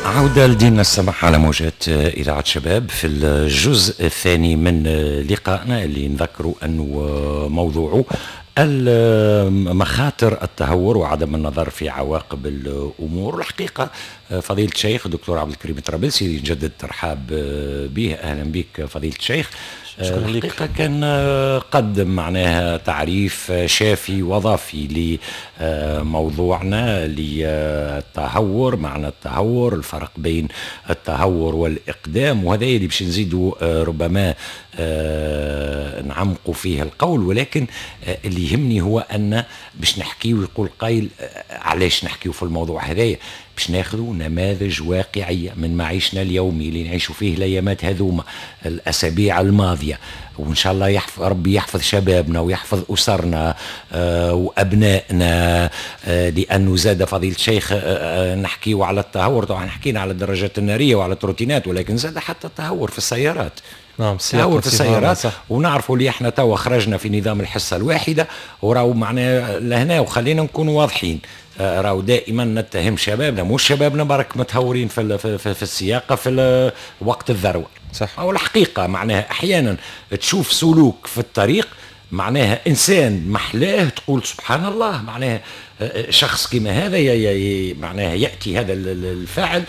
عودة لدينا السماح على موجات إذاعة شباب في الجزء الثاني من لقائنا اللي نذكروا أنه موضوعه مخاطر التهور وعدم النظر في عواقب الأمور. الحقيقة فضيلة الشيخ الدكتور عبد الكريم الطرابلسي نجدد ترحاب به، أهلا بك فضيلة الشيخ. شكرا لك. الحقيقة كان قدم معناها تعريف شافي وضافي لموضوعنا للتهور، معنى التهور، الفرق بين التهور والإقدام، وهذا اللي باش نزيدوا ربما نعمقوا فيه القول. ولكن اللي يهمني هو أن باش نحكيو، يقول قايل علاش نحكيو في الموضوع هذايا، باش ناخذوا نماذج واقعية من معيشنا اليومي اللي نعيشوا فيه الأيامات هذوما، الأسابيع الماضية، وإن شاء الله يحفظ ربي يحفظ شبابنا ويحفظ أسرنا وأبنائنا، لأنه زاد فضيلة الشيخ نحكيو على التهور، طبعا حكينا على الدراجات النارية وعلى التروتينات، ولكن زاد حتى التهور في السيارات. نعم، تهور في السيارات. ونعرفوا اللي احنا توا خرجنا في نظام الحصة الواحدة، وراو معناه لهنا، وخلينا نكونوا واضحين، راهو دائما نتهم شبابنا، مش شبابنا برك متهورين في في السياقه في وقت الذروة. صح. او الحقيقة معناها احيانا تشوف سلوك في الطريق معناها انسان محلاه تقول سبحان الله، معناها شخص كما هذا معناها ياتي هذا الفاعل.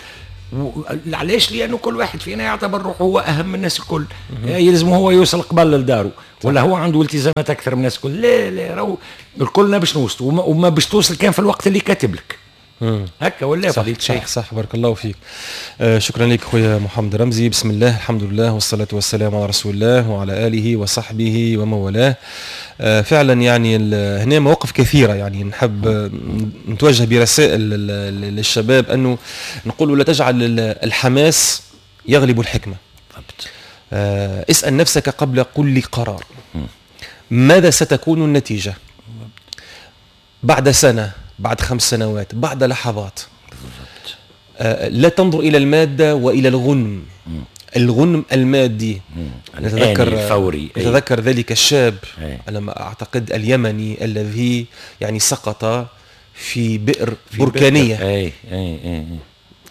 علاش؟ لانه كل واحد فينا يعتبر روحه هو اهم من الناس الكل، يلزم هو يوصل قبل لداره، ولا هو عنده التزامات اكثر من الناس الكل. لا لا، راهو الكلنا باش نوصل، وما باش توصل كان في الوقت اللي كاتب لك. هكا ولا فضيلة الشيخ؟ صح، بارك الله فيك. شكرا لك خويا محمد رمزي. بسم الله، الحمد لله، والصلاة والسلام على رسول الله وعلى آله وصحبه ومن والاه. فعلا يعني هنا مواقف كثيرة، يعني نحب نتوجه برسائل للشباب أنه نقول لا تجعل الحماس يغلب الحكمة. بالضبط. اسأل نفسك قبل كل قرار ماذا ستكون النتيجة بعد سنة، بعد 5 سنوات، بعد لحظات. بالضبط. لا تنظر إلى المادة وإلى الغنم. الغنم المادي. نتذكر الفوري. نتذكر ذلك الشاب، أنا ما أعتقد اليمني، الذي يعني سقط في بئر بركانية. أي أي أي.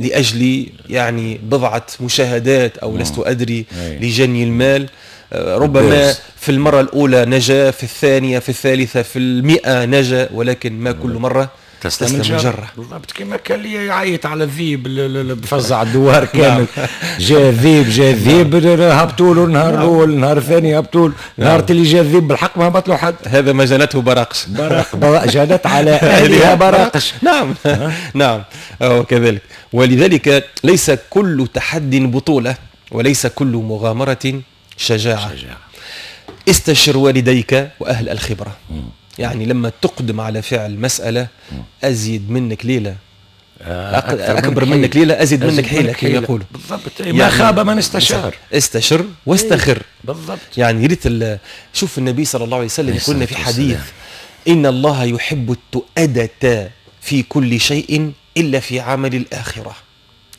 لأجل يعني بضعة مشاهدات أو لست أدري، لجني المال. ربما في المرة الأولى نجا، في الثانية، في الثالثة، في 100 نجا، ولكن ما كل مرة تسلم الجرة. بالضبط، كما كان لي يعيط على الذيب بفزع الدوار كامل. جا الذيب، جا الذيب، هبطوا له النهار الاول، النهار الثاني هبطوا له، نهار اللي جا الذيب بالحق ما هبط له حد. هذا ما جنته براقش. جنت على اهلها براقش. نعم نعم، وكذلك. ولذلك ليس كل تحد بطولة، وليس كل مغامرة شجاعة. استشر والديك وأهل الخبرة. يعني لما تقدم على فعل مسألة أزيد منك ليلة، أكبر منك ليلة، أزيد منك حيلة كما يقولوا. بالضبط. ما خاب من استشار. استشر واستخر. بالضبط. يعني ريت شوف النبي صلى الله عليه وسلم يقولنا في حديث: إن الله يحب التؤدة في كل شيء إلا في عمل الآخرة.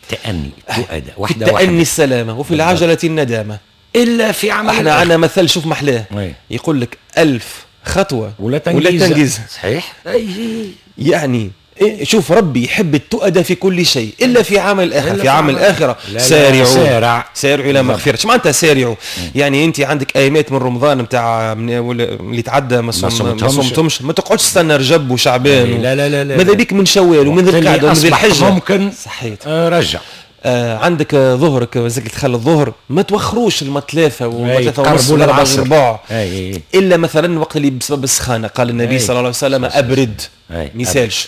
تأني، تؤدة، واحدة واحدة. التأني السلامة، وفي العجلة الندامة. إلا في عمل. احنا عندنا مثل، شوف محلاه، يقول لك 1000 خطوة ولا تنجيز. صحيح. يعني شوف ربي يحب التؤدة في كل شيء إلا في عمل الآخرة. في عمل الآخرة سارعوا، سارعوا إلى مغفرة. شو معناتها سارعوا؟ يعني أنت عندك أيامات من رمضان نتاع اللي تعدى ما صمتهمش، ما تقعدش تستنى رجب وشعبان. لا لا لا لا، ماذا بيك من شوال ومن ذي القعدة ومن ذي الحجة ممكن. صحيت. رجع. عندك ظهرك، زك تخلي الظهر، ما توخروش الما 3 و3:30 ولا 4 إلا مثلا وقت اللي بسبب السخانة. قال النبي صلى الله عليه وسلم أبرد، ما يسالش.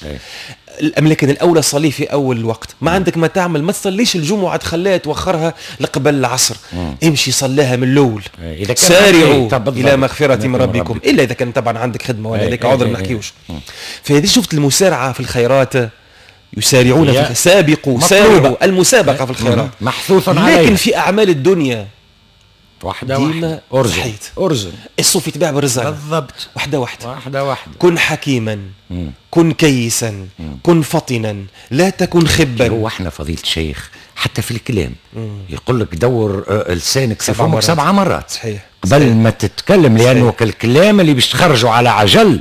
لكن الأولى صلي في أول الوقت. ما عندك ما تعمل، ما تصليش الجمعة تخليها توخرها لقبل العصر. امشي صليها من الأول. سارعوا إلى مغفرة من ربكم، إلا إذا كان طبعا عندك خدمة ولا ذلك عذر ما نحكيوش. فهذه شفت المسارعة في الخيرات، يسارعون في سابقوا، سارعوا، المسابقة في الخيرات محثوثا عليها. لكن في أعمال الدنيا واحدة واحدة. أرزن، أرزن. الصوف يتباع بالرزانة. بالضبط. واحدة واحدة. واحدة واحدة. كن حكيما، كن كيسا، كن فطنا، لا تكن خبا. هو احنا فضيلة الشيخ حتى في الكلام يقول لك دور لسانك في فمك 7 مرات. صحيح. قبل ما تتكلم، لأنه الكلام اللي باش تخرجه على عجل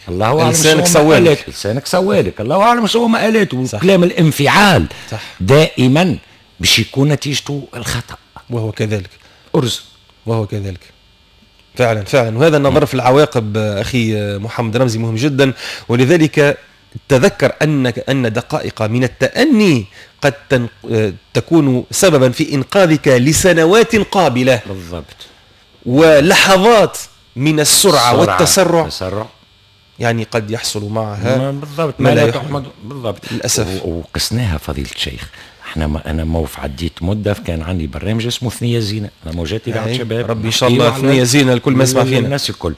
الله اعلم لسانك سوالك، لسانك سوالك، الله اعلم شو مآلاته. وكلام الانفعال صح. دائما باش يكون نتيجته الخطأ، وهو كذلك أرز، وهو كذلك فعلا فعلا. وهذا النظر في العواقب أخي محمد رمزي مهم جدا، ولذلك تذكر أن دقائق من التأني قد تكون سببا في إنقاذك لسنوات قابلة. بالضبط. ولحظات من السرعة والتسرع يعني قد يحصل معها بالضبط ما لا تحمد. بالضبط للأسف. وقسناها فضيلة الشيخ. احنا انا موف عديت مده كان عندي برنامج اسمه ثنيه زينة، انا موجات اذاعة شباب، ربي ان شاء الله ثنيه زينة الكل ما يسمع فينا الناس الكل.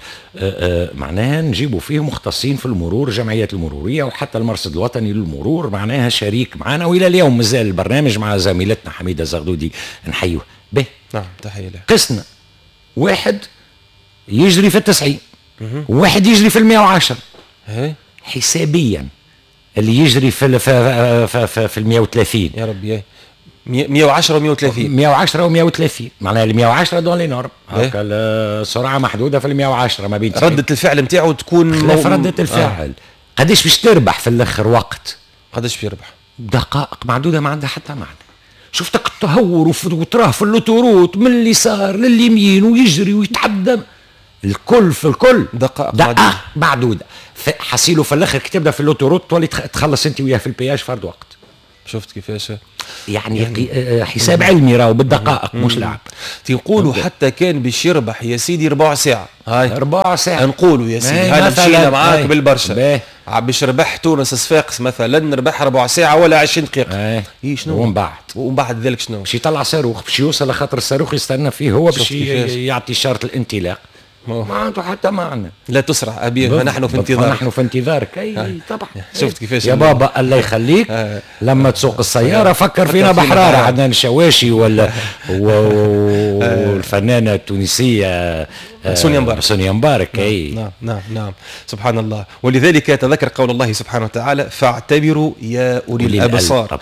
معناها نجيبوا فيه مختصين في المرور، الجمعيات المرورية وحتى المرصد الوطني للمرور معناها شريك معنا، والى اليوم مازال البرنامج مع زميلتنا حميده الزغدودي نحيوه به. نعم تحية له. قسنا واحد يجري في 90 وواحد يجري في 110 حسابيا اللي يجري في في 130 يا ربي 110 و 130 110 و 130 معناها ال 110 dans les normes، هكا السرعة محدودة في ال 110 ما بين ردة الفعل نتاعو تكون خلاف ردة الفعل. قداش باش تربح في الاخر وقت؟ قداش باش يربح؟ دقائق معدودة ما عندها حتى معنى. شفتك التهور وتراه في ال autoroute من اليسار لليمين ويجري ويتعدى الكل في الكل، دقائق معدودة. حسيلو في الاخر كي تبدا في l'autoroute تولي تخلص انت وياه في ال péage فرد وقت. شفت كيفاش؟ يعني حساب علمي راهو بالدقائق مش لعب. تنقولوا حتى كان باش يربح يا سيدي ربع ساعة، هاي ربع ساعة نقولوا يا سيدي هاي مشينا معاك بالبرشا باش ربح تونس صفاقس مثلا، ربح ربع ساعة ولا 20 دقيقة. اي شنو ومن بعد ذلك شنو؟ باش يطلع صاروخ، باش يوصل لخاطر الصاروخ يستنى فيه هو باش يعطي شارة الانطلاق. ما عنده حتى معنى. لا تسرع أبي نحن في انتظارك، نحن في انتظارك. اي طبعا. شفت كيفاش يا بابا الله يخليك لما تسوق السيارة فكر فينا بحرارة. عدنان الشواشي ولا والفنانة التونسية سونيا مبارك. سونيا مبارك. اي نعم نعم نعم سبحان الله. ولذلك تذكر قول الله سبحانه وتعالى فاعتبروا يا أولي الأبصار.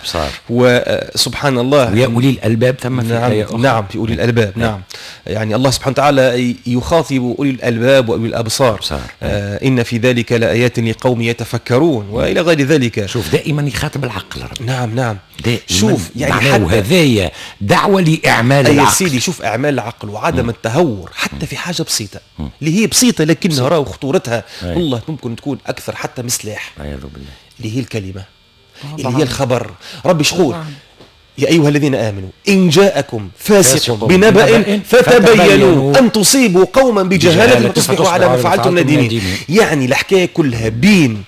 وسبحان الله يا أولي الألباب ثم في نعم آية. نعم في أولي الألباب. نعم يعني الله سبحانه وتعالى يخاطب أولي الألباب وأولي الأبصار. إن في ذلك لآيات لقوم يتفكرون وإلى غير ذلك. شوف دائما يخاطب العقل رب. نعم نعم دائما. شوف يعني حتى هذايا دعوة لإعمال العقل. يا سيدي شوف إعمال العقل وعدم التهور حتى في حاجة بسيطة اللي هي بسيطة لكنها راهو خطورتها والله ممكن تكون أكثر حتى من سلاح، اللي هي الكلمة اللي هي الخبر. ربي شقول يا أيها الذين آمنوا إن جاءكم فاسق بنبأ فتبينوا أن تصيبوا قوما بجهالة فتصبحوا على ما فعلتم نادمين. يعني الحكاية كلها بين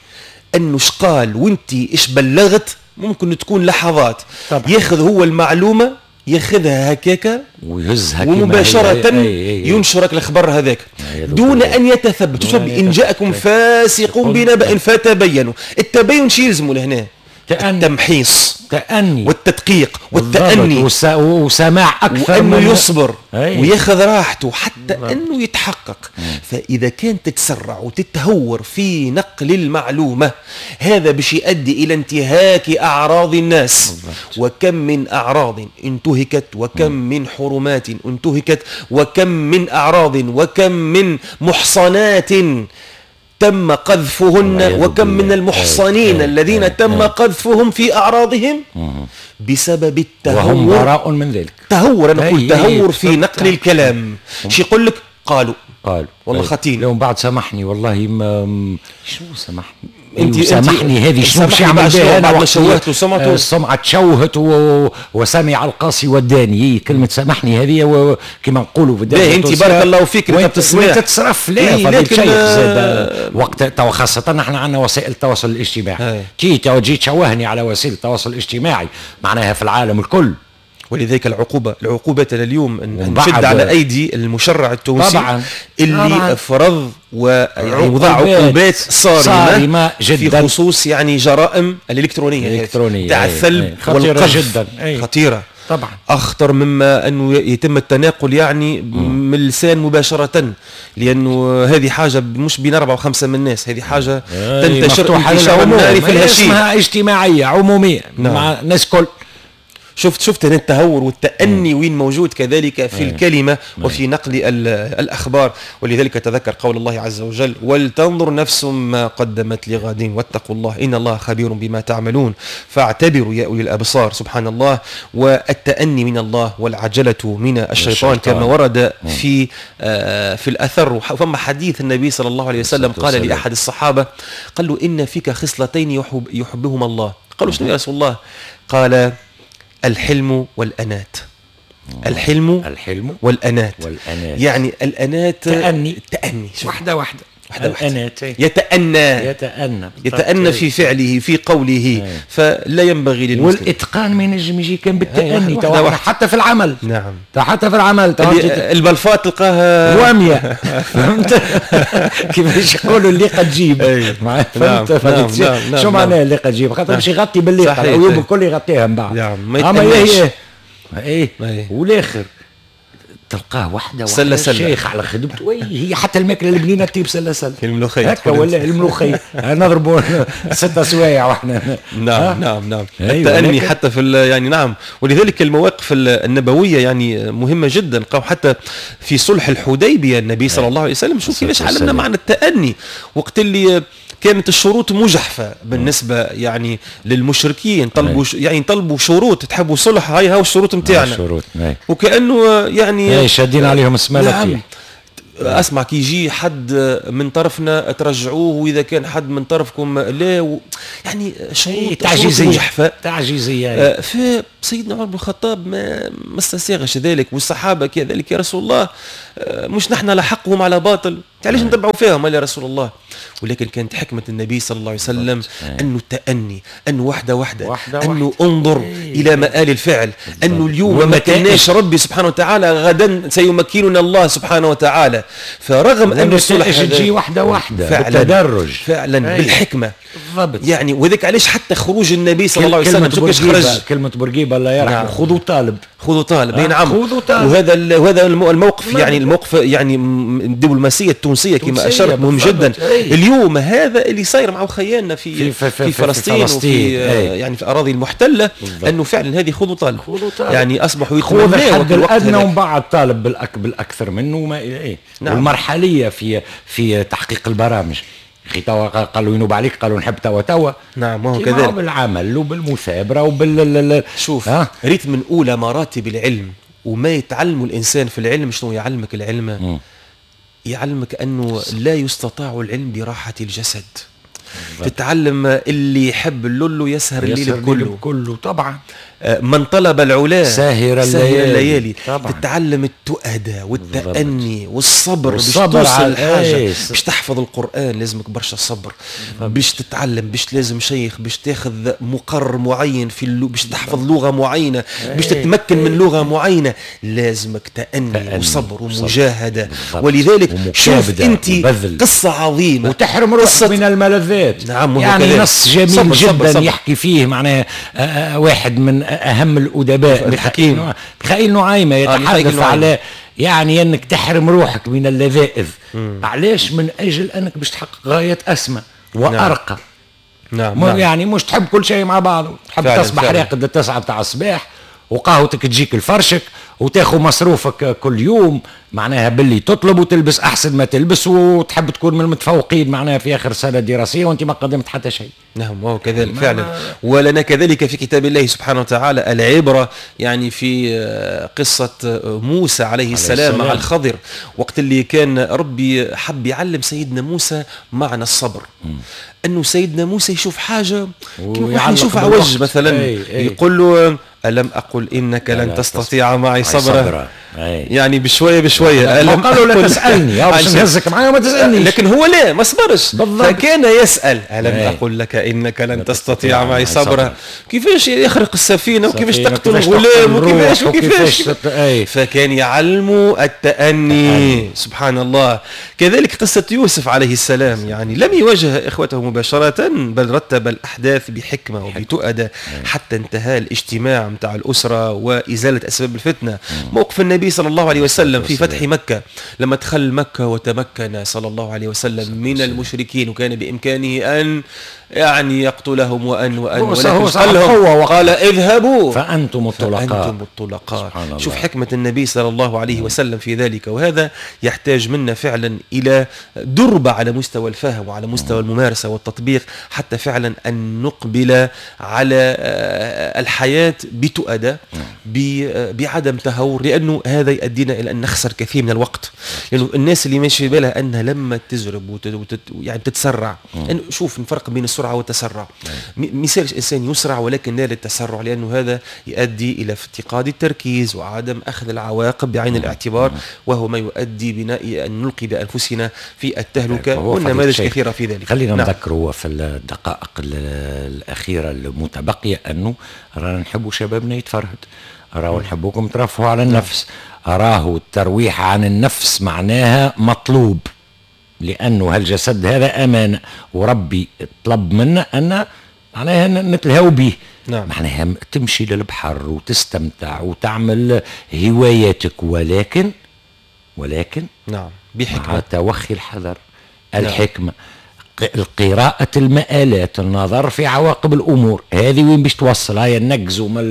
أنه شقال وانت إيش بلغت ممكن تكون لحظات. ياخذ هو المعلومة ياخذها هكاكا ويهزها ومباشرة ينشرك الخبر هذاك دون أن يتثبت. إن جاءكم فاسق بنبأ فتبينوا. التبين شي يلزموا لهنا؟ التمحيص تأني والتدقيق والتأني وسماع أكثر، وأنه يصبر وياخذ راحته حتى أنه يتحقق. فإذا كان تتسرع وتتهور في نقل المعلومة هذا باش يؤدي إلى انتهاك أعراض الناس. وكم من أعراض انتهكت، وكم من حرمات انتهكت، وكم من أعراض، وكم من محصنات تم قذفهن، وكم من المحصنين الذين تم قذفهم في أعراضهم بسبب التهور. وهم براء من ذلك. تهور، أنا أقول تهور في نقل الكلام. شي يقول لك قالوا والله خطين. لو بعد سامحني والله ما شو سامحني انت سامحني هذه شنو باش يعمل بها؟ بعد ما شوهت له سمعته، السمعة تشوهت وسمع القاصي والداني. كلمة سامحني هذه كما نقولوا في الدارجة انت بارك الله فيك انت بتسمع تتصرف. لا فضيلة الشيخ زاد وقت تو خاصة احنا عندنا وسائل التواصل الاجتماعي، كي تو تجي تشوهني على وسيلة التواصل الاجتماعي معناها في العالم الكل. ولذلك العقوبة اليوم نشد على أيدي المشرع التونسي طبعا اللي طبعا فرض ووضع عقوبات صارمة جدا في خصوص يعني جرائم الإلكترونية تاع الثلب خطيرة جدا، خطيرة طبعا، أخطر مما أنه يتم التناقل يعني من اللسان مباشرة، لأنه هذه حاجة مش بين 4 و5 من الناس، هذه حاجة تنتشر انتشار النار في الهشيم، اسمها اجتماعية عمومية. نعم. مع الناس كل. شفت هنا التهور والتأني وين موجود كذلك في الكلمة وفي نقل الأخبار. ولذلك تذكر قول الله عز وجل: ولتنظر نفس ما قدمت لغد واتقوا الله إن الله خبير بما تعملون فاعتبروا يا أولي الأبصار. سبحان الله. والتأني من الله والعجلة من الشيطان كما ورد في الأثر. فما حديث النبي صلى الله عليه وسلم قال لأحد الصحابة، قال له: إن فيك خصلتين يحبهما الله. قالوا: شنو يا رسول الله؟ قال: الحلم والأنات. الحلم والأنات. يعني الأنات تأني واحدة واحدة. يتأنى في فعله في قوله. فلا ينبغي للمسلم. والإتقان ما ينجم يجي كان بالتأني، حتى في العمل. نعم، حتى في العمل البلفات تلقاها وامية. فهمت كيفاش يقولوا الليقة تجيب؟ فهمت؟ شو معناها الليقة تجيب؟ خاطر باش يغطي بالليقة، العيوب الكل يغطيها من بعد. ما يتأناش. والاخر تلقاه وحده سلة سلة شيخ على خدمته. هي حتى الماكلة البنينه تطيب سله سله. الملوخية هكا ولا الملوخية نضربوا 6 سوايع واحنا. نعم نعم نعم. التأني حتى في يعني نعم. ولذلك المواقف النبوية يعني مهمة جدا. حتى في صلح الحديبية النبي صلى الله عليه وسلم شوف كيفاش علمنا معنى التأني، وقت اللي كانت الشروط مجحفة بالنسبة يعني للمشركين. طلبوا يعني طلبوا شروط، تحبوا صلح، هاي هاو الشروط نتاعنا. وكأنه يعني شادين عليهم السمالة. نعم. اسمع، كي يجي حد من طرفنا ترجعوه، واذا كان حد من طرفكم لا يعني شروط تعجيزية مجحفه تعجيزية. فسيدنا عمر بن الخطاب ما استساغش ذلك، والصحابة كذلك: يا رسول الله مش نحن لحقهم على باطل، علاش نتبعوا فيهم يا رسول الله؟ ولكن كانت حكمة النبي صلى الله عليه وسلم أنه التأني، أنه واحدة واحدة، أنه انظر إلى مآل الفعل، أنه اليوم ما كناش ربي سبحانه وتعالى، غدا سيمكننا الله سبحانه وتعالى. فرغم أن الصلح تجي واحدة واحدة بالتدرج فعلا بالحكمة بالضبط. يعني وذلك علاش حتى خروج النبي صلى الله عليه وسلم، خرج كلمة بورقيبة الله يرحمه، نعم. خذوا طالب، خذوا طالب. نعم، خذوا طالب. وهذا الموقف يعني الموقف يعني الدبلوماسية التونسية كما أشرت مهم جدا. اليوم هذا اللي صاير مع خيالنا في في, في, في فلسطين وفي يعني في الأراضي المحتلة، أنه فعلا هذه خذوا طالب، يعني أصبحوا يتمنوا الحد الأدنى ومن بعد طالب بالأكثر منه وما إلى إيه. نعم. والمرحلية في تحقيق البرامج. اخي توا قالوا ينوب عليك، قالوا نحب توا توا. نعم، وهو كذلك بالعمل وبالمثابره وبال شوف ريت من اولى مراتب العلم وما يتعلمه الانسان في العلم، شنو يعلمك العلم؟ يعلمك انه لا يستطاع العلم براحة الجسد. تتعلم اللي يحب اللولو يسهر الليل كله طبعا. من طلب العلا ساهر الليالي. تتعلم التؤدة والتأني والصبر باش توصل الحاجة. باش تحفظ القرآن لازمك برشا صبر، باش تتعلم، باش لازم شيخ، باش تاخذ مقر معين في باش تحفظ لغة معينة، باش تتمكن من لغة معينة، لازمك تأني وصبر ومجاهدة. ولذلك شوف أنت قصة عظيمة وتحرم روحك من الملذات. نعم، يعني نص جميل صبر جدا صبر صبر. يحكي فيه معناه واحد من أهم الأدباء ميخائيل نعيمة، يتحدث على يعني أنك تحرم روحك من اللذائذ. علاش؟ من أجل أنك باش تحقق غاية أسمى وأرقى. نعم. نعم. يعني مش تحب كل شيء مع بعضه، تحب تصبح راقد للتسعة بتاع الصباح وقهوتك تجيك الفرشك وتاخذ مصروفك كل يوم معناها باللي تطلب، وتلبس احسن ما تلبس، وتحب تكون من المتفوقين معناها في اخر سنة دراسية وانت ما قدمت حتى شيء. نعم، وهو كذلك فعلا. ولنا كذلك في كتاب الله سبحانه وتعالى العبرة، يعني في قصة موسى عليه السلام مع الخضر، وقت اللي كان ربي حب يعلم سيدنا موسى معنى الصبر. انه سيدنا موسى يشوف حاجة كيما يشوف عوج مثلا، يقول له: ألم أقل إنك لن تستطيع معي صبرا؟ يعني بشوية بشوية. ألم قالوا لا تسألني، باش نهزك معايا وما تسألنيش. لكن هو لا، ما صبرش، فكان يسأل: ألم أقل لك إنك لن تستطيع معي صبرا؟ كيفاش يخرق السفينة، وكيفاش تقتل الغلام، وكيفاش وكيفاش. فكان يعلم التأني. سبحان الله. كذلك قصة يوسف عليه السلام، يعني لم يواجه إخوته مباشرة، بل رتب الأحداث بحكمة وبتؤدة حتى انتهى الاجتماع متاع الأسرة وإزالة أسباب الفتنة. موقف النبي النبي صلى الله عليه وسلم في فتح مكة لما دخل مكة وتمكن صلى الله عليه وسلم من المشركين، وكان بإمكانه أن يعني يقتلهم وأن ولكن قال اذهبوا فأنتم الطلقاء، فأنتم الطلقاء. شوف حكمة النبي صلى الله عليه وسلم في ذلك، وهذا يحتاج منا فعلا إلى دربة على مستوى الفهم وعلى مستوى الممارسة والتطبيق، حتى فعلا أن نقبل على الحياة بتؤدة، بعدم تهور، لأنه هذا يؤدينا إلى أن نخسر كثير من الوقت. لأنه الناس اللي ماشي في بالها أنها لما تزرب يعني تتسرع، شوف الفرق بين السرعة والتسرع. مثال إنسان يسرع ولكن لا للتسرع، لأنه هذا يؤدي إلى افتقاد التركيز وعدم أخذ العواقب بعين الاعتبار، وهو ما يؤدي بنا أن نلقي بأنفسنا في التهلكة، والنماذج كثيرة في ذلك. خلينا نذكر في الدقائق الأخيرة المتبقية أنه رانا نحبوا شبابنا يتفرهد، راهو نحبوكم ترفهوا على النفس، راهو الترويح عن النفس معناها مطلوب، لأنه هالجسد هذا أمانة وربي طلب منا أن معناها نتلهوا به. نعم. معناها تمشي للبحر وتستمتع وتعمل هواياتك، ولكن نعم بحكمة، مع توخي الحذر، الحكمة، القراءة، المآلات، النظر في عواقب الأمور، هذه وين باش توصل. هيا نقزوا من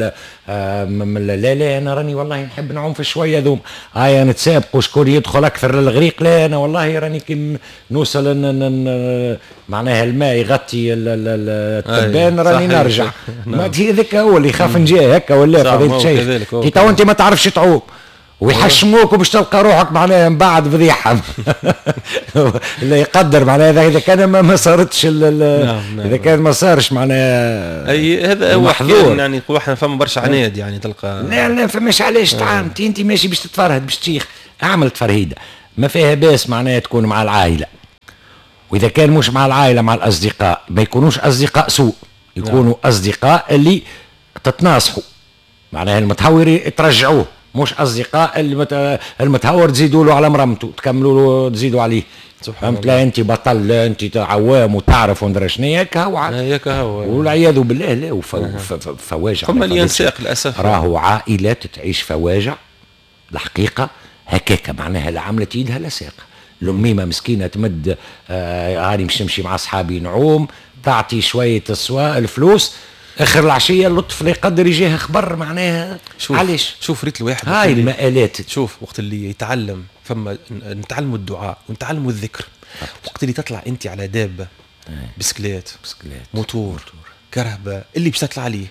لا لا أنا راني والله نحب نعوم في شوية ذوم، هيا نتسابقوا شكون يدخل أكثر للغريق، لا أنا والله راني كي نوصل معناها الماء يغطي التبان راني نرجع. ما هذاك هو اللي يخاف نجاه هكا ولا فضيلة الشيخ، كي تو أنت ما تعرفش تعوم ويحشموك وباش تلقى روحك معناها من بعد فضيحة. اللي يقدر معناها اذا كان ما صارتش، نعم اذا كان ما صارش معناها اي هذا هو محظور. يعني احنا فما برشا عناد، يعني تلقى لا لا فماش علاش تعاند، انت ماشي باش تتفرهد باش تشيخ، اعمل تفرهيده ما فيها باس، معناها تكون مع العائلة، واذا كان مش مع العائلة مع الاصدقاء، ما يكونوش اصدقاء سوء، يكونوا اصدقاء اللي تتناصحوا، معناها المتهور ترجعوه، مش اصدقاء المتهور تزيدوا له على مرمته، تكملوا له تزيدوا عليه. فهمت؟ لا انت بطل، لا انت عوام وتعرف وندرى شنو، ياك هو والعياذ بالله. لا فواجع، فما اللي ينساق للاسف، راهو عائلات تعيش فواجع الحقيقة هكاك، معناها لا عملت ايدها لا ساقها. الأميمة مسكينه تمد هاني باش نمشي مع اصحابي نعوم، تعطي شوية الفلوس، اخر العشية اللطف لا يقدر يجيه خبر معناها. علاش؟ شوف ريت الواحد هاي المآلات. شوف وقت اللي يتعلم، فما نتعلموا الدعاء ونتعلموا الذكر، وقت اللي تطلع انت على دابة، بسكليت، موتور، كرهبه، اللي باش تطلع عليه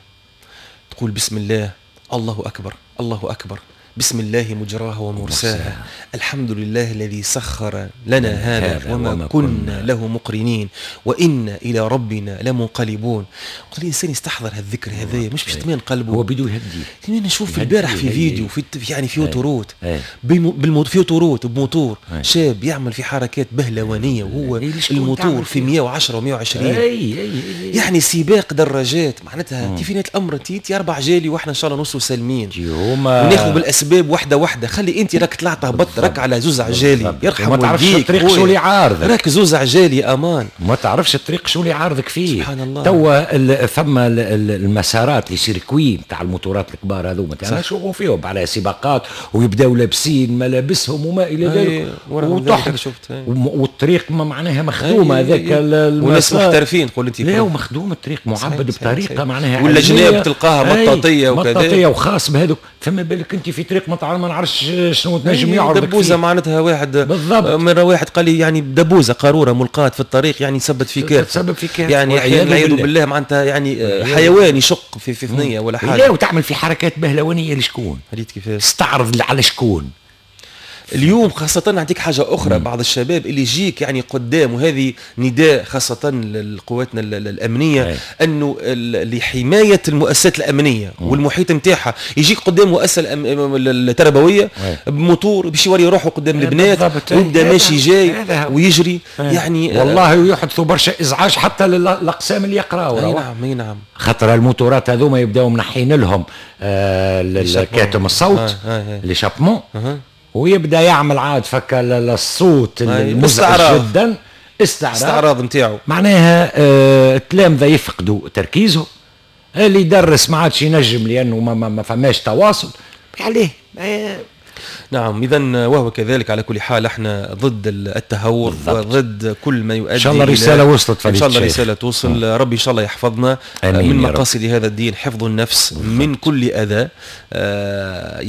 تقول بسم الله، الله اكبر، الله اكبر، بسم الله مجراها ومرساها، الحمد لله الذي سخر لنا هذا وما كنا له مقرنين وإنا إلى ربنا لمنقلبون. وقت الإنسان يستحضر هالذكر هذايا مش باش يطمئن قلبه، هو بده يهديه. نشوف البارح في فيديو في يعني في autoroute، في autoroute بموتور شاب يعمل في حركات بهلوانية، وهو الموتور في 110 و120، يعني سباق دراجات معناتها. كيف نهاية الأمر انت أربع جالي واحنا إن شاء الله نوصلوا سالمين وناخذ بالأسباب واحدة واحدة. خلي انت راك طلعت هبطت راك على زوز عجالي، يرحم ما تعرفش الطريق شو اللي عارضك، راك زوز عجالي امان، ما تعرفش الطريق شو اللي عارضك فيه. سبحان الله. توا فما المسارات les circuits نتاع الموتورات الكبار هذوما تاع نشوفوا فيهم على سباقات ويبداو لابسين ملابسهم وما الى ذلك، والطريق ما معناها مخدومة هذاك، وناس محترفين تقول انت. لا ومخدوم الطريق معبد بطريقة معناها، ولا جناب تلقاها مطاطيه وكذا، مطاطيه وخاص بهذوك. فما بالك انت في طريق ما نعرفش شنو تنجم يعرضك. دبوزه معناتها واحد بالضبط، مرة واحد قال لي يعني دبوزه قارورة ملقاة في الطريق يعني سبت في كارثة، تسبب في كارثة يعني والعياذ بالله، معناتها يعني حيوان يشق في ثنيه ولا حاجة. لا وتعمل في حركات بهلوانيه لشكون؟ ريت كيفاش استعرض على شكون؟ اليوم خاصة نعطيك حاجة أخرى، بعض الشباب اللي يجيك يعني قدام، وهذه نداء خاصة لقواتنا الأمنية، أنه لحماية المؤسسات الأمنية والمحيط نتاعها، يجيك قدام مؤسسة التربوية بموتور باش يوري روحه قدام البنات ويبدا ماشي جاي ويجري يعني والله ويحدثوا برشا إزعاج حتى للأقسام اللي يقراوا. أي نعم أي نعم، خاطر الموتورات هذوما يبداو منحين لهم كاتم الصوت l'échappement، ويبدا يعمل عاد فك الصوت المزعج جدا، استعراض نتاعو معناها. التلامذه يفقدوا تركيزهم، اللي يدرس ما عادش ينجم لانه ما فماش تواصل عليه. نعم، اذا وهو كذلك. على كل حال احنا ضد التهور وضد كل ما يؤدي. ان شاء الله الرسالة وصلت. ان شاء الله الرسالة توصل. ربي ان شاء الله يحفظنا. من مقاصد هذا الدين حفظ النفس بالضبط. من كل اذى،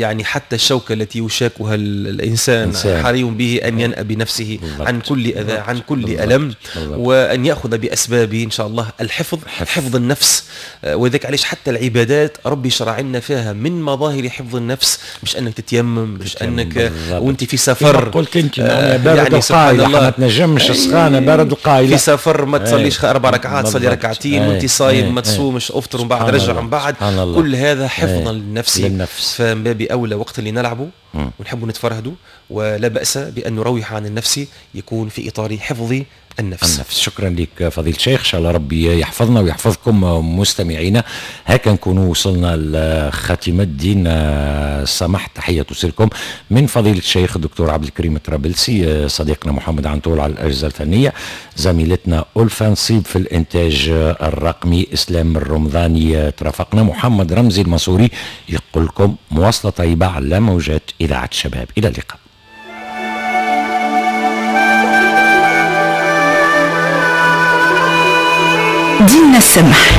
يعني حتى الشوكة التي يشاكها الانسان حري به ان ينأى بنفسه بالضبط. عن كل اذى، عن كل بالضبط. الم بالضبط. وان ياخذ باسباب ان شاء الله الحفظ، حفظ النفس. وذلك علاش حتى العبادات ربي شرع لنا فيها من مظاهر حفظ النفس، مش انك تتيمم، مش انك وانت في سفر. قلت انت بارد يعني القايله، ما تنجمش السخانه، بارد القايله. في سفر ما تصليش 4 ركعات، تصلي ركعتين، وانت صايم ما تصومش، افطر ومن بعد رجع من بعد. كل هذا حفظا للنفس. فمن باب اولى وقت اللي نلعبوا ونحبوا نتفرهدوا، ولا بأس بأن نروح عن النفس، يكون في إطار حفظ النفس. شكرا لك فضيلة الشيخ، إن شاء الله ربي يحفظنا ويحفظكم مستمعينا. هكا نكونوا وصلنا لخاتمة دين السمح. تحية توصلكم من فضيلة الشيخ الدكتور عبد الكريم الطرابلسي، صديقنا محمد عنطول على الأجهزة الفنية، زميلتنا ألفا نصيب في الإنتاج الرقمي، إسلام الرمضاني ترافقنا، محمد رمزي المنصوري يقول لكم مواصلة طيبة على موجات إذاعة الشباب. إلى اللقاء. ديننا السمح.